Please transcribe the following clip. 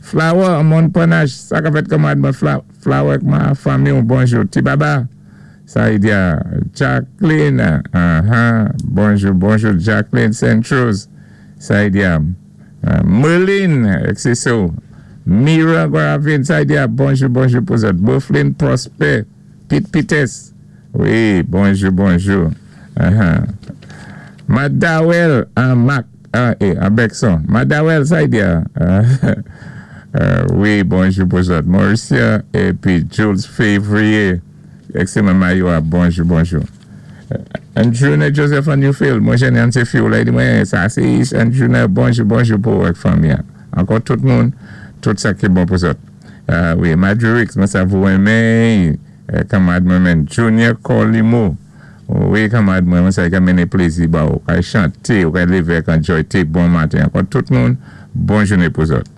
Flower, Mon Panache, sa ka fèt, kanmwad mwen Flower, ma fanmi, bonjou. Ti Baba, sa i di Jacqueline, bonjou, bonjou, Jacqueline Centros, sa i di Merlin, Exceso, Mira Guaravin, sa i di bonjou, bonjou pou zòt. Boflin Prosper, Pete Pites, wi, bonjou, bonjou. Madawel, an Mac, an Bekson. Madawel, sa i di wi, bonjou pou zòt. Mauricia, épi Jules Février, Excellent Mayoa, bonjou, bonjou. Andrew Joseph an Newfield, mwen jèn yon sé fi ou la, di mwen, sa sé Andrew, bonjou, bonjou pou ak fanmi. Ankò tout moun, tout sa ki bon pou zòt. Wi, Madurix, mwen sa vou renmen, kanmwad mwen menm, Junior Colimo. Wi, kanmwad mwen, mwen sa ka mennen plézi ba ou, kay chanté, ou kay lévé ak enjoy, té bon maten. Ankò tout moun, bon jounen pou zòt.